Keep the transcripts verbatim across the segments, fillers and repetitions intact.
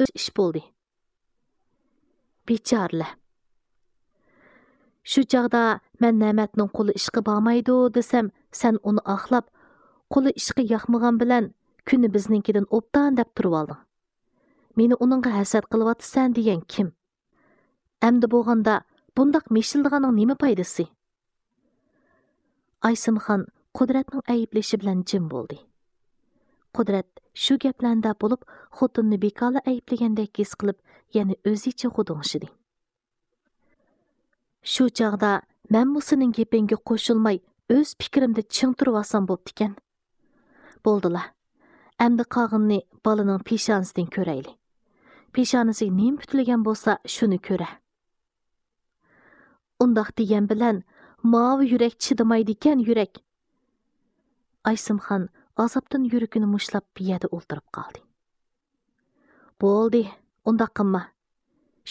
ئۆز ئىش بولدى. بىچارىلەر. شۇ چاغدا مەن نەمەتنىڭ قولى ئىشقا بارمايدۇ دېسەم، سەن ئۇنى ئاقلاپ، قولى ئىشقا ياقمىغان بىلەن كۈنى بىزنىڭكىدىن ئوبدان دەپ تۇرۇۋالدىڭ. مېنى ئۇنىڭغا ھەسەت قىلىۋاتىسەن دېگەن كىم؟ ئەمدى بولغاندا بۇنداق مىشىلدىغاننىڭ نېمە پايدىسى؟ ئايسىمخان قۇدرەتنىڭ ئەيىبلىشى بىلەن جىم بولدى. قۇدرەت شۇ گەپلەرنى دەپ بولۇپ، خوتۇنىنى بىكارلا ئەيىبلىگەندەك ھېس قىلىپ، يەنە ئۆزىچە غۇدۇڭشىدى. شۇ چاغدا مەنمۇ سېنىڭ گېپىڭگە قوشۇلماي، ئۆز پىكرىمدە چىڭ تۇرۇۋالسام بوپتىكەن. بولدىلا. ئەمدى قالغىنىنى بالىنىڭ پېشانىسىدىن كۆرەيلى. پېشانىسىگە نېمە پۈتۈلگەن بولسا، شۇنى كۆرە. ئۇنداق دېگەن بىلەن، ماۋۇ يۈرەك چىدىمايدىكەن، يۈرەك. ئايسىمخان ئازابتىن يۈرىكىنى مۇشتلاپ، بۇ يەردە ئولتۇرۇپ قالدى. بولدى، ئۇنداق قىلما.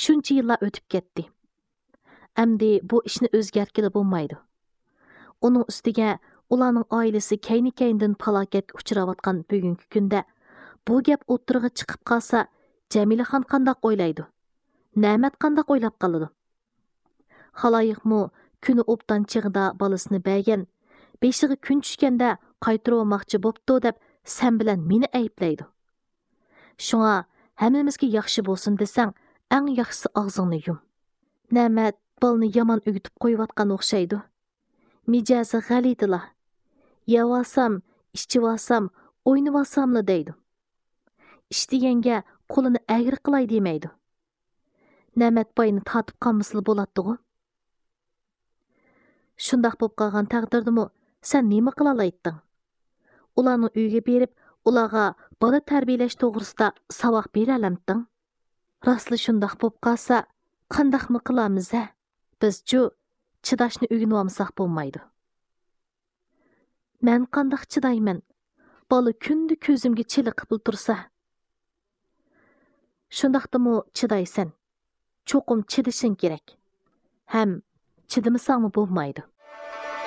شۇنچە يىللار ئۆتۈپ كەتتى. ئەمدى بۇ ئىشنى ئۆزگەرتكىلى بولمايدۇ. ئۇنىڭ ئۈستىگە ئۇلارنىڭ ئائىلىسى كەينى-كەينىدىن پالاكەتكە ئۇچراۋاتقان بۈگۈنكى كۈندە بۇ گەپ ئوتتۇرىغا چىقىپ قالسا، جەمىلىخان قانداق ئويلايدۇ؟ نەمەت قانداق ئويلاپ قالىدۇ؟ خالايىقمۇ كۈنى ئوبدان چېغىدا بالىسىنى بەرگەن، بېشىغا كۈن چۈشكەندە قايتۇرۇۋالماقچى بوپتۇ دەپ سەن بىلەن مېنى ئەيىبلەيدۇ. شۇڭا ھەممىمىزگە ياخشى بولسۇن دېسەڭ، ئەڭ ياخشىسى ئاغزىڭنى يۇم. نەمەت بالىنى يامان ئۆگىتىپ قويۇۋاتقان ئوخشايدۇ. مىجەزى غەلىتىلا. يەۋالسام، ئىچىۋالسام، ئوينىۋالساملا دەيدۇ. ئىش دېگەنگە قولىنى ئەگرى قىلاي دېمەيدۇ. نەمەت باينى تارتىپ قالمىسىلا بولاتتىغۇ. شۇنداق بولۇپ قالغان تەقدىردىمۇ سەن نېمە قىلالايتتىڭ؟ ئۇلارنىڭ ئۆيىگە بېرىپ، ئۇلارغا بالا تەربىيەلەش توغرىسىدا ساۋاق بېرەلەمتىڭ؟ راستلا شۇنداق بولۇپ قالسا، قانداقمۇ قىلامىز ھە؟ بىزچۇ چىداشنى ئۆگىنىۋالمىساق بولمايدۇ. مەن قانداق چىدايمەن؟ بالا كۈندە كۆزۈمگە چېلىقىپلا تۇرسا. شۇنداقتىمۇ چىدايسەن. چوقۇم چىدىشىڭ كېرەك. ھەم چىدىمىساڭمۇ بولمايدۇ.